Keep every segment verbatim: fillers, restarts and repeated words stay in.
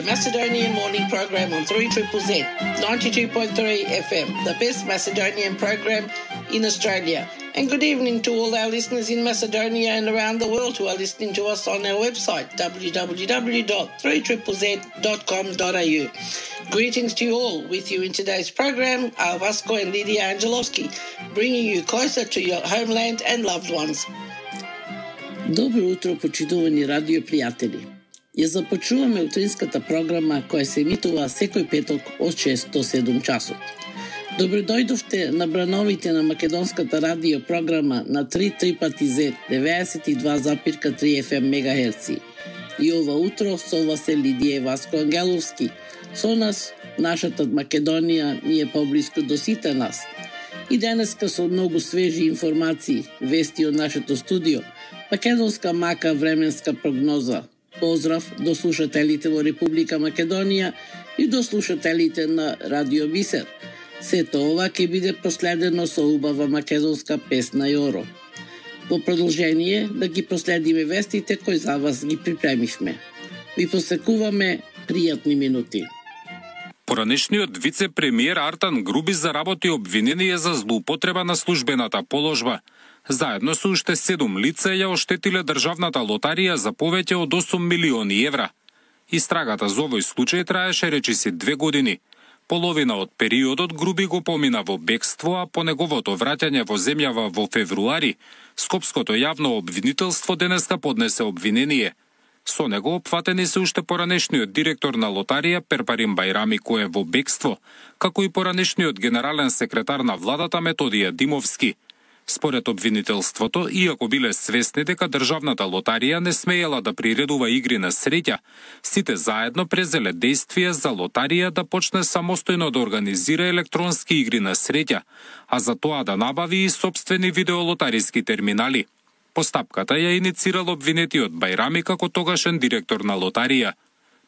Macedonian morning program on three triple Z, ninety-two point three F M, the best Macedonian program in Australia. And good evening to all our listeners in Macedonia and around the world who are listening to us on our website, w w w dot three triple z dot com dot a u. Greetings to you all. With you in today's program are Vasco and Lydia Angelovski, bringing you closer to your homeland and loved ones. Добро утро, почитувани радио пријатели. Ја започнуваме утринската програма која се емитува секој петок од шест до седум часот. Добро дојдовте на брановите на македонската радио програма на три три пати Z деветдесет и два запирка три F M мегахерци. И ова утро со вас е Лидија и Васко Ангеловски. Со нас, нашата Македонија ни е поблиску до сите нас. И денеска со многу свежи информации, вести од нашето студио, македонска мака временска прогноза. Поздрав до слушателите во Република Македонија и до слушателите на Радио Бисер. Сето ова ќе биде проследено со убава македонска песна Јоро. Во продолжение да ги проследиме вестите кои за вас ги припремивме. Ви посекуваме пријатни минути. Поранешниот вице-премиер Артан Груби заработи обвинение за злоупотреба на службената положба. Заедно со уште седум лица ја оштетиле државната лотарија за повеќе од осум милиони евра. Истрагата за овој случај траеше речиси две години. Половина од периодот Груби го помина во бегство, а по неговото враќање во земјава во февруари, Скопското јавно обвинителство денеска поднесе обвинение. Со него опфатени се уште поранешниот директор на лотарија Перпарим Бајрами кој е во бегство, како и поранешниот генерален секретар на владата Методија Димовски. Според обвинителството, иако биле свесни дека државната лотарија не смеела да приредува игри на среќа, сите заедно презеле действија за лотарија да почне самостојно да организира електронски игри на среќа, а за тоа да набави и сопствени видеолотариски терминали. Постапката ја иницирал обвинетиот Бајрами како тогашен директор на лотарија.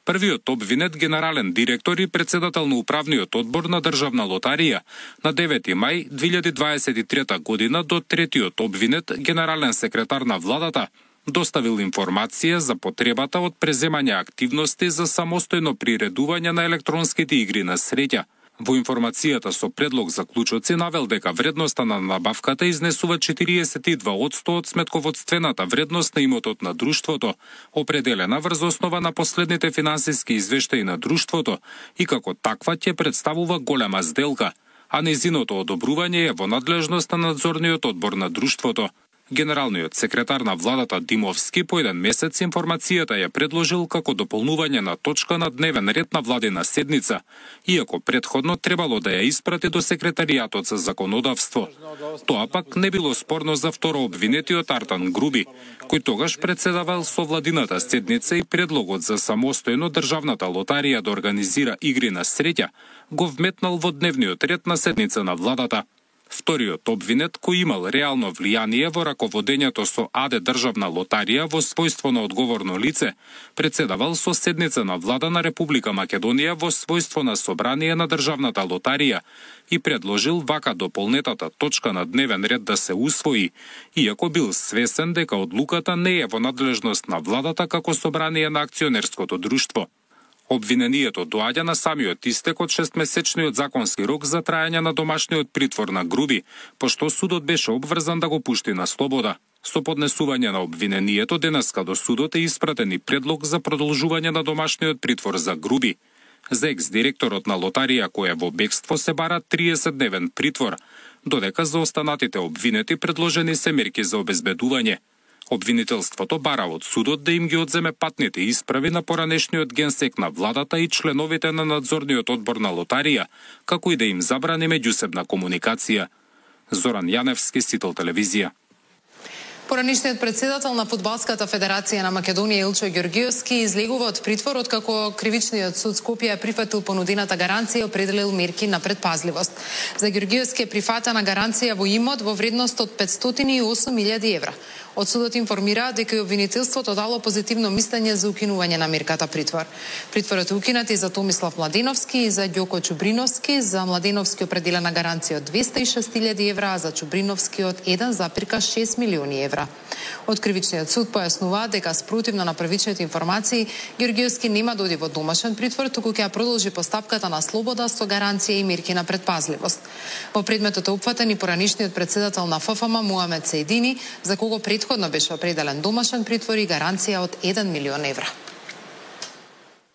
Првиот обвинет, генерален директор и председател на управниот одбор на државна лотарија, на девети мај две илјади дваесет и трета година до третиот обвинет, генерален секретар на владата, доставил информација за потребата од преземање активности за самостојно приредување на електронските игри на среќа. Во информацијата со предлог заклучоци навел дека вредноста на набавката изнесува четириесет и два одсто од сметководствената вредност на имотот на друштвото, определена врз основа на последните финансиски извештаи на друштвото и како таква ќе представува голема сделка, а незиното одобрување е во надлежност на надзорниот одбор на друштвото. Генералниот секретар на владата Димовски по еден месец информацијата ја предложил како дополнување на точка на дневен ред на владина седница, иако предходно требало да ја испрати до секретаријатот за законодавство. Тоа пак не било спорно за второ обвинетиот Артан Груби, кој тогаш председавал со владината седница и предлогот за самостојно државната лотарија да организира игри на среќа го вметнал во дневниот ред на седница на владата. Вториот обвинет, кој имал реално влијание во раководењето со АД државна лотарија во својство на одговорно лице, председавал со седница на влада на Република Македонија во својство на собрание на државната лотарија и предложил вака дополнетата точка на дневен ред да се усвои, иако бил свесен дека одлуката не е во надлежност на владата како собрание на акционерското друштво. Обвинението доаѓа на самиот истек од шестмесечниот законски рок за трајање на домашниот притвор на Груби, пошто судот беше обврзан да го пушти на слобода. Со поднесување на обвинението денеска до судот е испратен и предлог за продолжување на домашниот притвор за Груби. За екс-директорот на лотарија кој е во бегство се бара триесет дневен притвор, додека за останатите обвинети предложени се мерки за обезбедување. Обвинителството бара од судот да им ги одземе патните исправи на поранешниот генсек на владата и членовите на надзорниот одбор на лотарија, како и да им забрани меѓусебна комуникација. Зоран Јаневски, Сител телевизија. Поранишниот председател на Фудбалската федерација на Македонија Илчо Ѓорѓиевски излегува од притвор откако кривичниот суд Скопје прифатил понудената гаранција и определил мерки на предпазливост. За Ѓорѓиевски е прифатена гаранција во имот во вредност од петстотини и осум илјади евра. Од судот информираат дека и обвинителството дало позитивно мислење за укинување на мерката притвор. Притворот е укинат и за Томислав Младеновски и за Ѓоко Чубриновски. За Младеновски определена гаранција од двесте и шест илјади евра, а за Чубриновски од еден зарез шест милиони евра. Од кривичниот суд појаснуваат дека спротивно на првичните информации, Ѓорѓиевски нема да оди во домашен притвор, туку ќе ја продолжи постапката на слобода со гаранција и мерки на предпазливост. Во предметот е опфатен и поранишниот председател на Ф Ф М Муамед Сеидини, за кого предходно беше определен домашен притвор и гаранција од еден милион евра.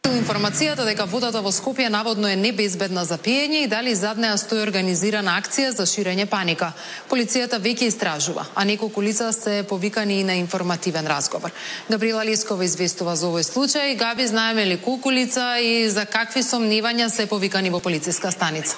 Информацијата дека водата во Скопје наводно е небезбедна за пиење и дали зад неа стои организирана акција за ширење паника. Полицијата веќе истражува, а неколку лица се повикани и на информативен разговор. Габриела Лескова известува за овој случај. Габи, знаеме ли колку лица и за какви сомневања се повикани во полициска станица?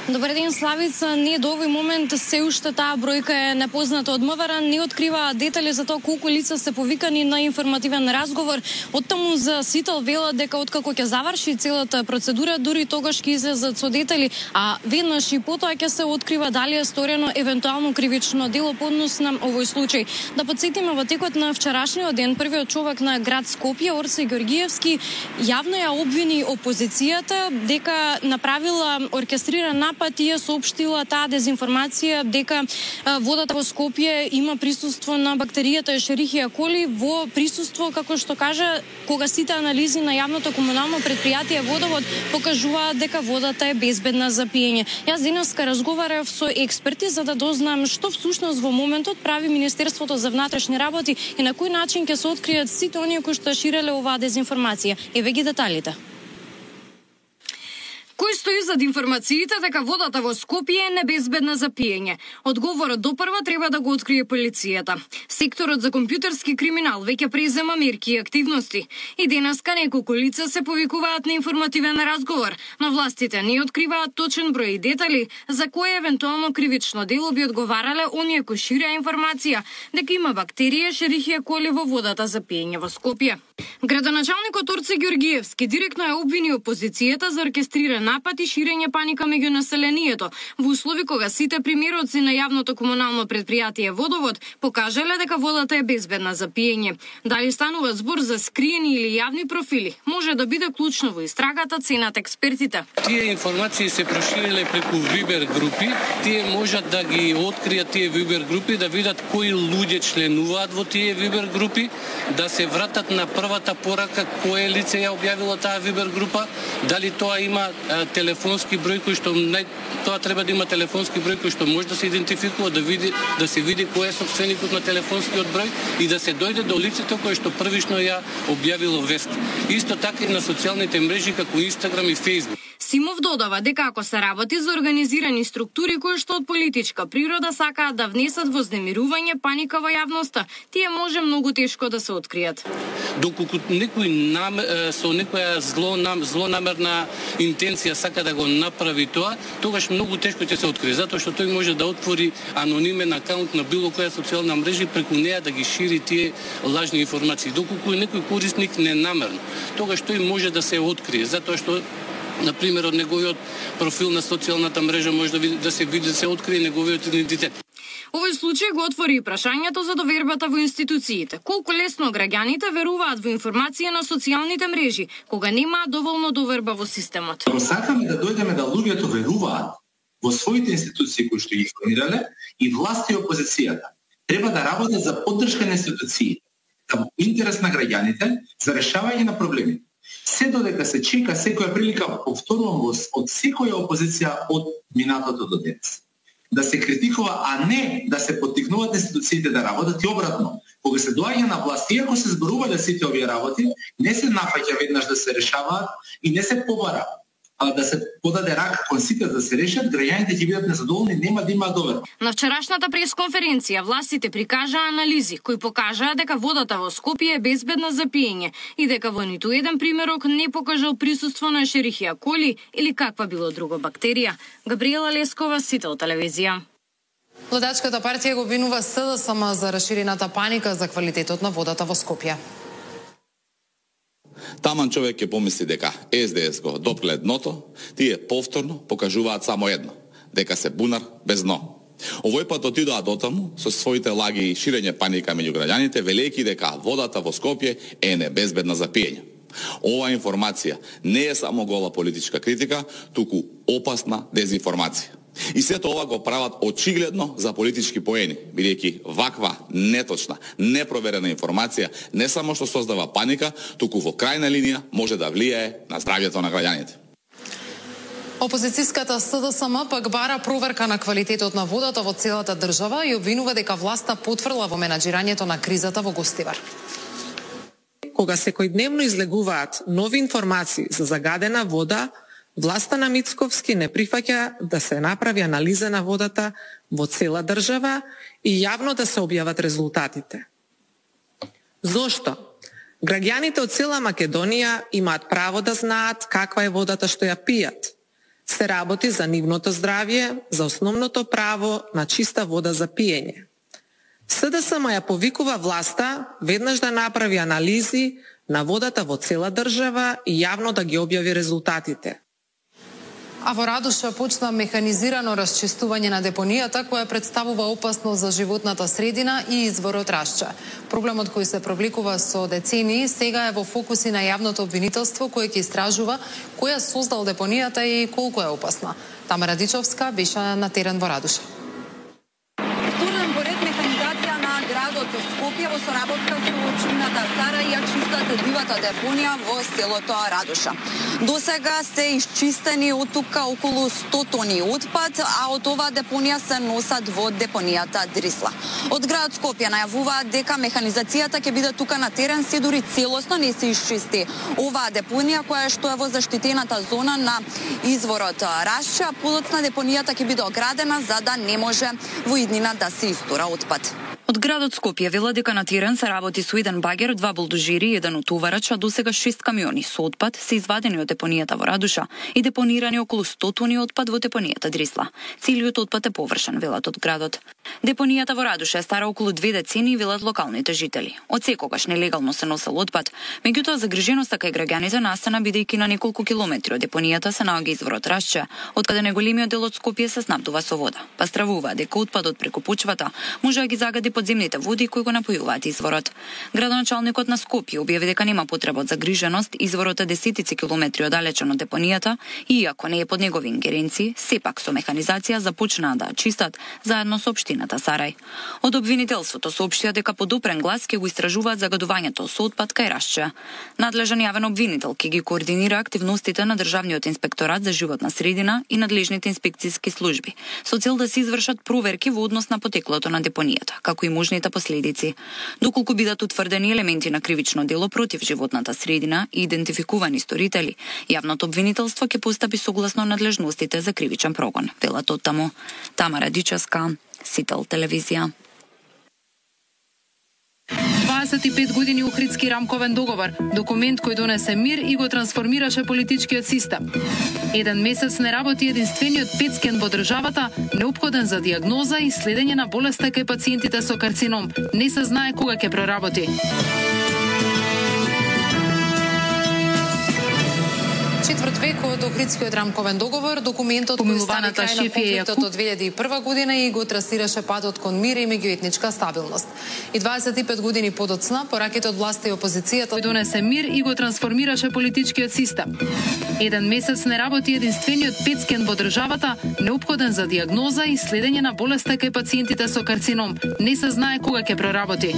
Добар ден, Славица. Не до овој момент се уште таа бројка е непозната од МВР, не открива детали за тоа колку лица се повикани на информативен разговор. Оттаму за Сител велат дека откако ќе заврши целата процедура, дури тогаш ќе излезат со детали, а веднаш и потоа ќе се открива дали е сторено евентуално кривично дело по однос на овој случај. Да потсетиме, во текот на вчерашниот ден првиот човек на град Скопје, Орси Ѓорѓиевски, јавно ја обвини опозицијата дека направила оркестриран напад и ја соопштила таа дезинформација дека водата во Скопје има присуство на бактеријата Ешерихија коли во присуство, како што кажа, кога сите анализи на јавното комунално предпријатие Водовод покажуваат дека водата е безбедна за пиење. Јас денеска разговарав со експерти за да дознам што всушност во моментот прави Министерството за внатрешни работи и на кој начин ќе се откријат сите оние кои што ширеле оваа дезинформација. Еве ги деталите. Кој стои зад информациите дека водата во Скопје е небезбедна за пиење? Одговорот допрва треба да го открие полицијата. Секторот за компјутерски криминал веќе презема мерки и активности. И денеска неколку лица се повикуваат на информативен разговор, но властите не откриваат точен број и детали за кое евентуално кривично дело би одговарале оние кои ширеа информација дека има бактерија Ешерихија коли во водата за пиење во Скопје. Градоначалникот Орси Ѓорѓиевски директно ја обвини опозицијата за оркестриран напад и ширење паника меѓу населението во услови кога сите примероци на јавното комунално предпријатие Водовод покажале дека водата е безбедна за пиење. Дали станува збор за скриени или јавни профили, може да биде клучно во истрагата, ценат експертите. Тие информации се прошириле преку Вибер групи, тие можат да ги откријат тие Вибер групи, да видат кои луѓе членуваат во тие Вибер групи, да се вратат на првата порака кое лице ја објавило таа Вибер група, дали тоа има а, телефонски број кој што нај... тоа треба да има телефонски број кој што може да се идентификува, да види да се види кој е сопственикот на телефонскиот број и да се дојде до лицето кое што првично ја објавило вест. Исто така и на социјалните мрежи како Инстаграм и Фејсбук. Симов додава дека ако се работи за организирани структури кои што од политичка природа сакаат да внесат вознемирување, паника во јавноста, тие може многу тешко да се откријат. Доколку некој нам, со некоја зло, нам, злонамерна интенција сака да го направи тоа, тогаш многу тешко ќе се открие, затоа што тој може да отвори анонимен акаунт на било која социјална мрежа и преку неа да ги шири тие лажни информации. Доколку е некој корисник ненамерно, тогаш тој може да се открие, затоа што например, од неговиот профил на социјалната мрежа може да, види, да се види, да се открие неговиот идентитет. Овој случај го отвори и прашањето за довербата во институциите. Колку лесно граѓаните веруваат во информација на социјалните мрежи, кога немаат доволно доверба во системот. Ако сакаме да дојдеме да луѓето веруваат во своите институции кои што ги формирале и власта и опозицијата, треба да работат за поддршка на институциите, во интерес на граѓаните, за решавање на проблемите. Се додека се чека секоја прилика, повторувам од секоја опозиција од минатото до денес. Да се критикува, а не да се поттикнуваат институциите да работат и обратно. Кога се доаѓа на власт, иако се зборувале сите овие работи, не се нафаќа веднаш да се решаваат и не се побара, а да се подаде рака кон сите да се решат, граѓаните ќе бидат незадоволни, нема да имаат доверба. На вчерашната пресконференција властите прикажаа анализи кои покажаа дека водата во Скопје е безбедна за пиење и дека во ниту еден примерок не покажал присуство на Ешерихија коли или каква било друга бактерија. Габриела Лескова, Сител телевизија. Владачката партија го обвинува С Д С М за расширената паника за квалитетот на водата во Скопје. Таман човек ќе помисли дека С Д С го допкле дното, тие повторно покажуваат само едно, дека се бунар без дно. Овој пат отидоа дотаму со своите лаги и ширење паника меѓу граѓаните, велејќи дека водата во Скопје е небезбедна за пиење. Ова информација не е само гола политичка критика, туку опасна дезинформација. И сето ова го прават очигледно за политички поени, бидејќи ваква неточна, непроверена информација не само што создава паника, туку во крајна линија може да влијае на здравјето на граѓаните. Опозицијската С Д С М пак бара проверка на квалитетот на водата во целата држава и обвинува дека власта потврла во менаџирањето на кризата во Гостивар. Кога секојдневно излегуваат нови информации за загадена вода, власта на Мицковски не прифаќа да се направи анализа на водата во цела држава и јавно да се објават резултатите. Зошто? Граѓаните од цела Македонија имаат право да знаат каква е водата што ја пијат. Се работи за нивното здравје, за основното право на чиста вода за пиење. С Д С М ја повикува власта веднаш да направи анализи на водата во цела држава и јавно да ги објави резултатите. А во Радуша почна механизирано расчистување на депонијата која представува опасност за животната средина и изворот Рашча. Проблемот кој се провлекува со децении сега е во фокуси на јавното обвинителство кое ќе истражува кој ја создал депонијата и колку е опасна. Тамара Дичовска беше на терен во Радуша. Вторен поред механизација на градот Скопје во соработка со општината Стара ја чистат дивата депонија во селото Радуша. До сега се исчистени од тука околу сто тони отпад, а од оваа депонија се носат во депонијата Дрисла. Од град Скопје најавуваат дека механизацијата ќе биде тука на терен се дури целосно не се исчисти оваа депонија која што е во заштитената зона на изворот Рашча. Подоцна депонијата ќе биде оградена за да не може во иднина да се истура отпад. Од градот Скопје вела дека на терен се работи со еден багер, два булдожери и еден утоварач, а досега шест камиони со отпад се извадени од депонијата во Радуша и депонирани околу сто тони отпад во депонијата Дрисла. Целиот отпад е површен, велат од градот. Депонијата во Радуша е стара околу две децении, велат локалните жители. Од секогаш нелегално се носел отпад, меѓутоа загриженоста кај граѓаните настана бидејќи на неколку километри од депонијата се наоѓа изворот Рашче, откаде неголемиот дел од Скопје се снабдува со вода. Па стравува дека отпадот преку почвата може да ги загади подземните води кои го напојуваат изворот. Градоначалникот на Скопје објави дека нема потреба од загриженост, изворот е десетици километри оддалечен од депонијата и иако не е под негови ингеренции, сепак со механизација започнаа да чистат заедно со општината Сарај. Од обвинителството соопштија дека под опрен глас ќе го истражуваат загадувањето со отпад кај Рашче. Надлежен јавен обвинител ќе ги координира активностите на Државниот инспекторат за животна средина и надлежните инспекцијски служби со цел да се извршат проверки во однос на потеклото на депонијата, како и можните последици. Доколку бидат утврдени елементи на кривично дело против животната средина и идентификувани сторители, јавното обвинителство ќе постапи согласно надлежностите за кривичен прогон, велат од таму. Тамара Дичевска, Сител телевизија. дваесет и пет години Охридски рамковен договор, документ кој донесе мир и го трансформираше политичкиот систем. Еден месец не работи единствениот пет-скен во државата, неопходен за диагноза и следење на болеста кај пациентите со карцином. Не се знае кога ќе проработи. Четврт век од Охридскиот рамковен договор, документот кој стави крај на конфликтот од две илјади и прва година и го трасираше патот кон мир и меѓуетничка стабилност. И дваесет и пет години подоцна, пораките од власта и опозицијата кој донесе мир и го трансформираше политичкиот систем. Еден месец не работи единствениот пет-скен во државата, неопходен за диагноза и следење на болеста кај пациентите со карцином. Не се знае кога ќе проработи.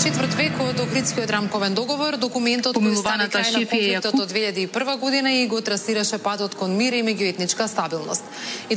Четврт век од Охридскиот рамковен договор, документот кој стави крај на конфликтот од две илјади и прва година и го трасираше патот кон мир и меѓуетничка стабилност. И